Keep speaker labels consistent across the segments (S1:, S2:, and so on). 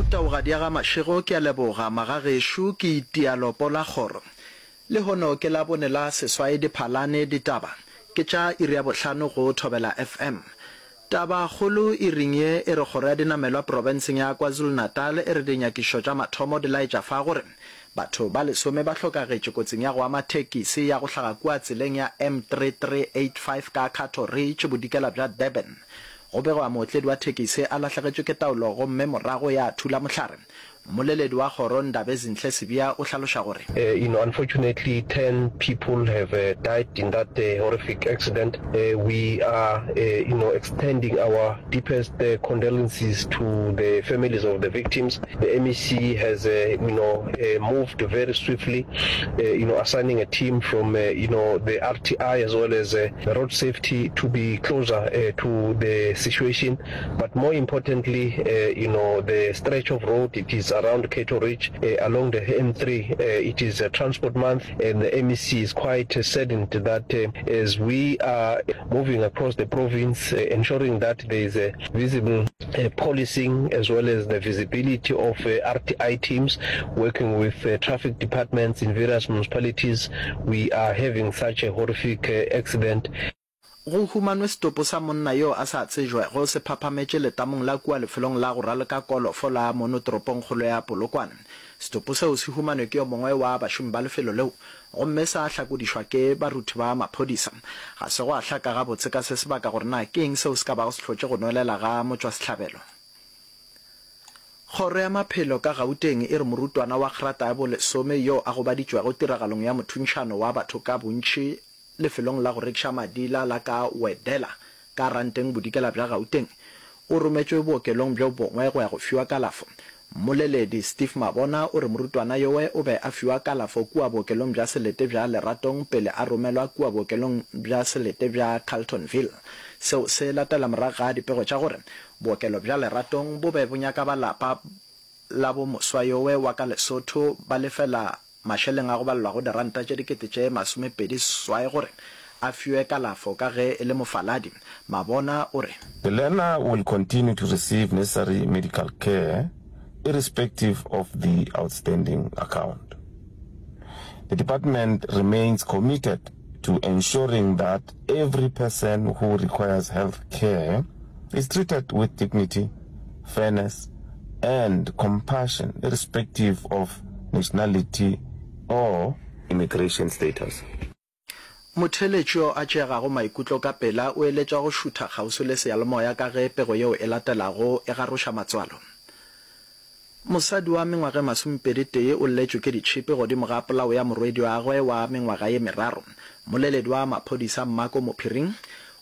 S1: Taugadi ya ga Mashego ke a leboga magagešo ke itia lopo la kgoro. Lehono ke Labone la seswai Diphalane Ditaba ke tša iri ya bohlano go Thobela FM. Taba kgolo iring ye e re kgoro ya dinamelwa profenseng ya KwaZulu-Natal e re dinyakišo tša mathomo di laetša fa gore batho ba lesome ba hlokagetše kotsing ya go ama thekisi ya go hlaga kua tseleng ya M3385 ka Cato Ridge bodikela bja Durban. Go begwa mootledi wa thekisi a lahlegetšwe ke taolo gomme morago ya thula mohlare. Mmoleledi wa kgoro Ndabezinhle Sibiya o hlaloša gore.
S2: You know, unfortunately 10 people have died in that horrific accident. We are, you know, extending our deepest condolences to the families of the victims. The MEC has, you know, moved very swiftly, you know, assigning a team from, you know, the RTI as well as the road safety to be closer to the situation. But more importantly, you know, the stretch of road, it is around Cato Ridge, along the N3. It is a transport month, and the MEC is quite saddened that as we are moving across the province, ensuring that there is a visible policing as well as the visibility of RTI teams working with traffic departments in various municipalities, we are having such a horrific accident.
S1: Go humanwe setopo sa monna yo a sa tsejwego se phaphametše letamong la kua lefelong la go raloka kolofo la mono toropongkgolo ya Polokwane. Setopo seo se humanwe ke yo mongwe wa bašomi ba lefelo leo gomme sa hlakodišwa ke baruthi ba maphodisa. Ga se gwa hlaka gabotse ka se sebaka gore na ke eng seo se ka bago se hlotše go nwelela ga motšwasehlabelo. Kgoro ya Maphelo ka Gauteng e re morutwana wa grata ya bolesome yo a gobaditšwego tiragalong ya mothuntšhano wa batho ka bontši lefelong la go rekiša madila la ka Wedela ka Ranteng Bodikela bja Gauteng, o rometšwe bookelong bjo bongwe go ya go fiwa kalafo. Mmoleledi Steve Mabona o re morutwana yowe o be a fiwa kalafo kua bookelong bja selete bja Leratong pele a romelwa kua bookelong bja selete bja Carltonville. Seo se latela morago ga dipego tša gore bookelo bja Leratong bo be bo nyaka ba lapa la bo moswa yowe wa ka Lesotho ba lefela mašeleng a go balelwago diranta tše 28,000 gore a fiwe kalafo ka ge e le mofaladi. Mabona o re.
S3: The learner will continue to receive necessary medical care irrespective of the outstanding account. The department remains committed to ensuring that every person who requires health care is treated with dignity, fairness and compassion irrespective of nationality or immigration status.
S1: Motheeletši yo a tšeegago maikutlo ka pela o eletšwa go šutha kgauswi le seyalemoya ka ge pego yeo e latelago e garoša matswalo. Mosadi wa mengwaga e masomepedi-tee o lletšwe ke ditšhipi godimo ga polao ya morwediagwe wa mengwaga ye meraro. Mmoleledi wa maphodisa Mmako Mophiring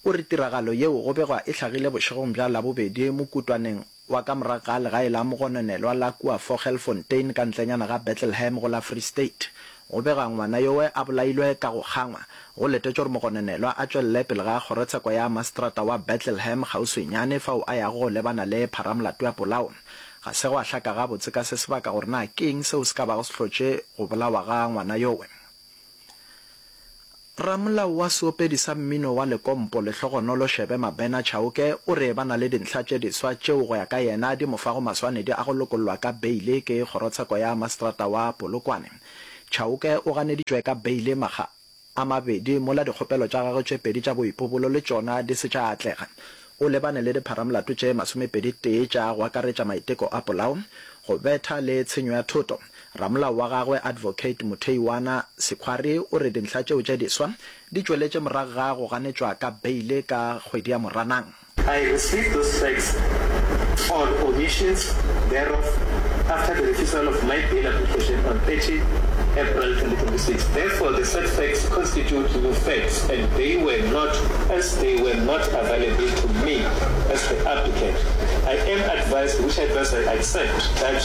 S1: o re tiragalo yeo go begwa e hlagile bošegong bja Labobedi mokutwaneng wa ka morago ga legae la mogononelwa la kua Vogelfontein ka ntlenyana ga Bethlehem go la Free State. Go begwa ngwana yowe a bolailwe ka go kgangwa. Go letetšwe gore mogononelwa a tšwelele pele ga kgorotsheko ya maseterata wa Bethlehem kgauswinyane fao a yago go lebana le pharamolato ya polao. Ga se gwa hlaka gabotse ka se sebaka gore na ke eng seo se ka bago se hlotše go bolawa ga ngwana yowe. Ramolao wa seopedi sa mmino wa Lekompo, Lehlogonolo Shebe Mabena Chauke o re ba na le dintlha tše diswa tšeo go ya ka yena di mo fago maswanedi a go lokollwa ka beile ke kgorotsheko ya maseterata wa Polokwane. Chauke o ganeditšwe ka beile makga a mabedi mola dikgopelo tša gagwe tše pedi tša boipobolo le tšona di se tša atlega. O lebane le dipharamolato tše masomepedi-tee tša go akaretša maiteko a polao, go betha le tshenyo ya thoto. Ramolao wa gagwe Advocate Mutheiwana Sekhwari o re dintlha tšeo tše diswa di tšweletše morago ga go ganetšwa ka beile ka kgwedi ya Moranang.
S4: I received those facts or omissions thereof after the refusal of my bail application on 30 April 2026. Therefore, the said facts constitute new facts and they were not, as they were not available to me as the applicant. I am advised, which advice I accept, that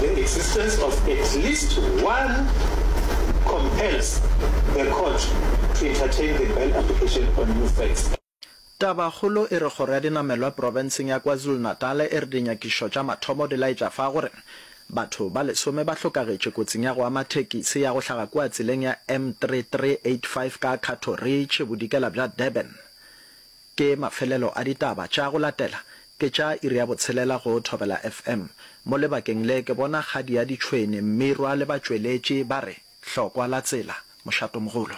S4: the existence of at least one compels the court to entertain the bail application on new facts.
S1: Tabakgolo e re kgoro ya dinamelwa profenseng ya KwaZulu-Natal e re dinyakišo tša mathomo di laetša fa gore batho ba lesome ba hlokagetše kotsing ya go ama thekisi ya go hlaga kua tseleng ya M3385 ka Cato Ridge bodikela bja Durban. Ke mafelelo a ditaba tša go latela. Ke tša iri ya botshelela go Thobela FM. Mo lebakeng le ke bona kgadi ya ditšhwene, Mmirwa le batšweletši ba re, Hlokwa la tsela, mošatomogolo.